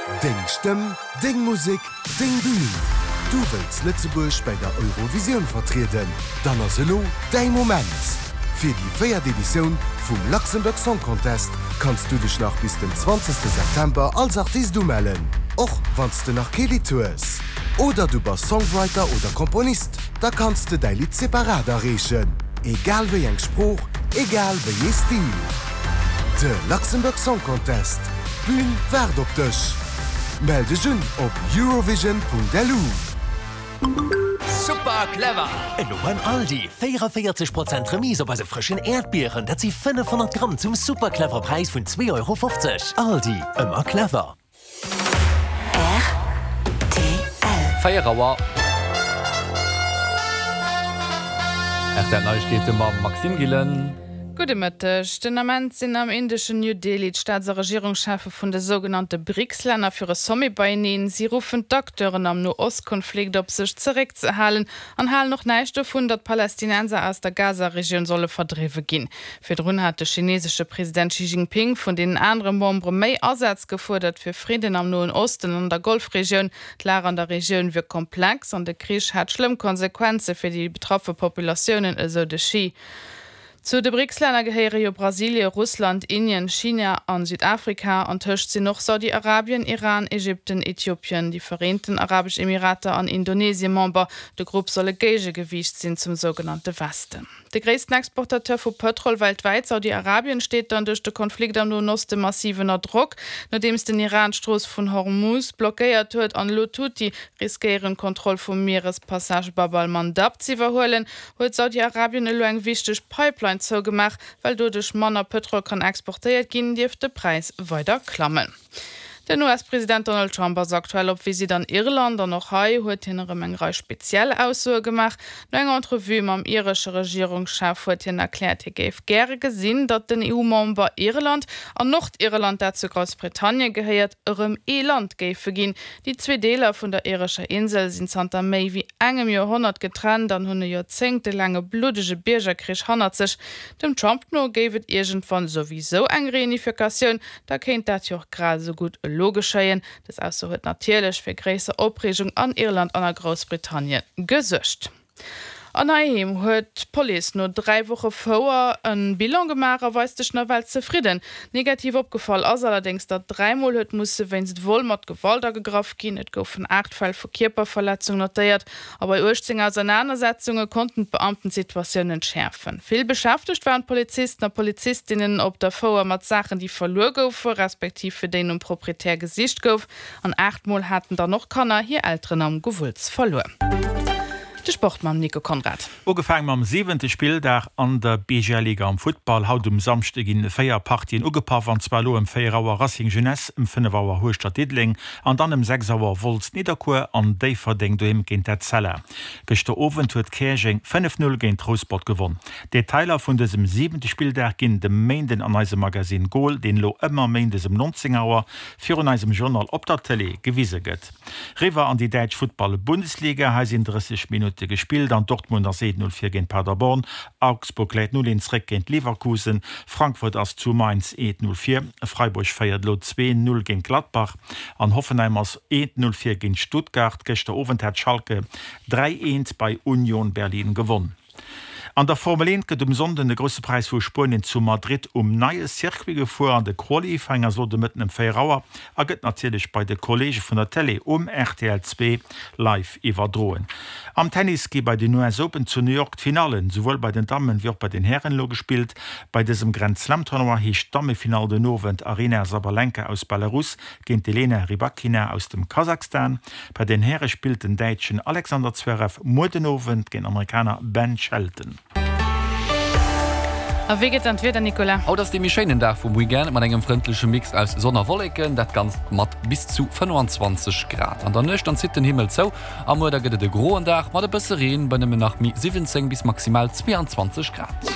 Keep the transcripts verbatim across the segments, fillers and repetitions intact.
Deng Stëmm, deng Musek, deng Bün! Du wëlls Lëtzebuerg bei der Eurovisioun vertrieden? Dann ass elo däi Moment! Fir déi véiert Editioun vum Luxembourg Song Contest kanns du dech nach bis den zwanzegste September als Artist umellen, och wann s de nach kee Lidd hues. Oder du bass Songwriter oder Komponist, da kanns de däi Lidd separat areechen, egal wéi eng Sprooch, egal wéi ee Stil. De Luxembourg Song Contest, d'Bün waart op dech! Mell dech un op eurovision.lu. Super clever! Elo beim Aldi, véierundavéierzeg Prozent Remise op eise frëschen Äerdbieren, dat si fënnefhonnert Gramm zum super clever Präis vun zwee Euro fofzeg. Aldi, ëmmer clever! Rtl. Véier Auer. Rtl Neiegkeete mam Maxime Gillen. Gudde Mëtteg. Den Ament sinn am indeschen New Delhi d'Staats a Regierungscheffe vun de sougenannte BRICS-Länner fir e Sommet beieneen. Si ruffen d'Acteuren am No-Ost-Konflikt op, sech zeréckzehalen an halen och näischt dovun, datt Palästinenser aus der Gaza-Regioun solle verdriwwe ginn. Virdrun hat de chinesesche President Xi Jinping vun deenen anere Membere méi Asaz gefuerdert fir Fridden am Noen Osten an der Golfregioun. D'Lag an der Regioun wier komplex an de Krich hätt schlëmm Konsequenze fir déi betraffe Populatiounen, esou de Xi. Zu de BRICS-Länner gehéiere jo Brasilie, Russland, Indien, China an Südafrika. Antëscht sinn och Saudi-Arabien, Iran, Ägypten, Äthiopien, déi Vereenten Arabesch Emirater an Indonesie Member. De Grupp soll e Géigegewiicht sinn zum sougenannte Westen. De gréissten Exportateur vu Pëtrol weltwäit, Saudi-Arabien, steet dann duerch de Konflikt am Noen Oste massiv ënner Drock. Nodeems den Iran d'Strooss vun Hormuz blockéiert huet an elo d'Huthi riskéieren, d'Kontroll vum Mierespassage Bab al-Mandab z'iwwerhuelen, huet Saudi-Arabien elo eng wichteg Pipeline zougemaach. Well doduerch manner Pëtrol kann exportéiert ginn, dierft de Präis weider klammen. Den U S-President Donald Trump ass aktuell op Visitt an Irland an och hei huet hien erëm eng Rei speziell Aussoe gemaach. No enger Entrevue mam iresche Regierungschef huet hien erkläert, hie géif gäre gesinn, datt den E U-Member Irland an Nordirland, dat zu Groussbritannien gehéiert, erëm ee Land géife ginn. Déi zwee Deeler vun der irescher Insel sinn zanter méi wéi engem Joerhonnert getrennt an hunn e joerzéngtelaange bluddege Biergerkrich hannert sech. Dem Trump no géif et iergendwann souwisou eng Reunifikatioun, da kéint dat jo och grad esou gutt elo geschéien. Dës Ausso huet natierlech fir gréisser Opreegung an Irland an a Groussbritannien gesuergt. An heiheem huet d'Police no dräi Woche Fouer e Bilan gemaach a weist sech nawell zefridden. Negativ opgefall ass allerdéngs, datt dräi Mol huet musse wéinst Vol mat Gewalt agegraff ginn. Et goufen aacht Fäll vu Kierperverletzung notéiert a bei uechtzéng Ausernanersetzunge konnten d'Beamten d'Situatioun entschäerfen. Vill beschäftegt waren d'Polizisten a Polizistinnen op der Fouer mat Saachen, déi verluer goufe respektiv fir déi nom Proprietär gesicht gouf. An aacht Mol haten dann och Kanner hir Elteren am Gewulls verluer. De Sport mam Nico Conrad. Ugefaange mam siwente Spilldag an der B G L Liga am Futtball. Haut um Samschde ginn véier Partien ugepaff, an zwar elo ëm véier Auer Racing Jeunesse, ëm fënnef Auer Hueschtert Diddeleng an dann ëm sechs Auer Wolz Nidderkuer an Déifferdeng doheem géint Etzella. Gëschter Owend huet Käerjeng fënnef Null géint Rouspert gewonn. Detailer vun dësem siwente Spilldag ginn de Méinden an eisem Magasinn Goal, deen elo ëmmer méindes ëm nonzéng Auer virun eisem Journal op der Tëlee gewise gëtt. Riwwer an déi däitsch Futtball-Bundesliga, hei sinn drësseg Minutte gespillt an Dortmund ass eent Null vir géint Paderborn, Augsburg läit null eent zréck géint Leverkusen, Frankfurt ass zu Mainz eent Null vir, Freiburg féiert elo zwee Null géint Gladbach an Hoffenheim ass eent Null vir géint Stuttgart. Gëschter Owend hat Schalke dräi eent bei Union Berlin gewonn. An der Formel eent gëtt um Sonnden de Grousse Präis vu Spuenien zu Madrid um neie Circuit gefuer an de Qualifying ass elo de Mëtten ëm véier Auer a gëtt natierlech bei de Kolleege vun der Télé um R T L zwee live iwwerdroen. Am Tennis gi bei den U S Open zu New York d'Finallen souwuel bei den Dammen wéi och bei den Hären elo gespillt. Bei dësem Grand Slam Tournoi heescht d'Dammefinall den Owend Aryna Sabalenka aus Belarus géint d'Elena Rybakina aus dem Kasachstan. Bei den Häre spillt den Däitschen Alexander Zverev muer den Owend géint den Amerikaner Ben Shelton. A wéi gëtt dann d'Wieder, Nicolas? Haut ass dee méi schéinen Dag vum Weekend mat engem frëndleche Mix aus Sonn a Wolleken, dat Ganzt mat bis zu fënnfanzwanzeg Grad. An der Nuecht dann zitt den Himmel zou a muer da gëtt et e groen Dag mat e bësse Reen bei nëmmen nach méi siwwenzéng bis maximal zweeanzwanzeg Grad.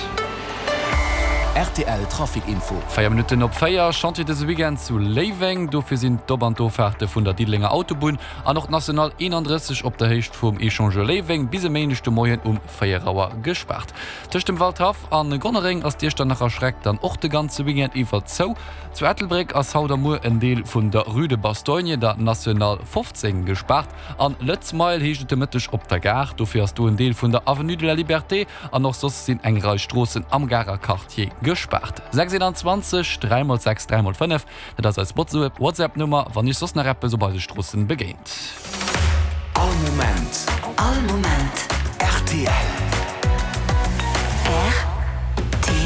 Rtl Trafic Info. Véier Minutten op véier, Chantier dëse Weekend zu Léiweng. Dofir sinn d'Op an d'Offaarte vun der Diddelenger Autobunn an och d'National eenandrësseg op der Héicht vum Echangeur Léiweng bis e Méindeg de Moien um véier Auer gespaart. Tëscht dem Waldhaff a Gonnereng ass d'Iechternacher Schreck dann och de ganze Weekend iwwer zou. Zu Ettelbréck ass haut a muer en Deel vun der Rue de Bastogne, der National fofzéng, gespaart. An Lëtz Mile heescht et de Mëtteg op der Gare. Dofir ass do en Deel vun der Avenue de la Liberté an och soss sinn eng Rei Stroossen am Garer Quartier gespaart. Sechs eenanzwanzeg, dräi mol sechs, dräi mol fënnef, dat ass eis WhatsApp-Nummer, wann Iech soss nach eppes op eise Stroossen begéint.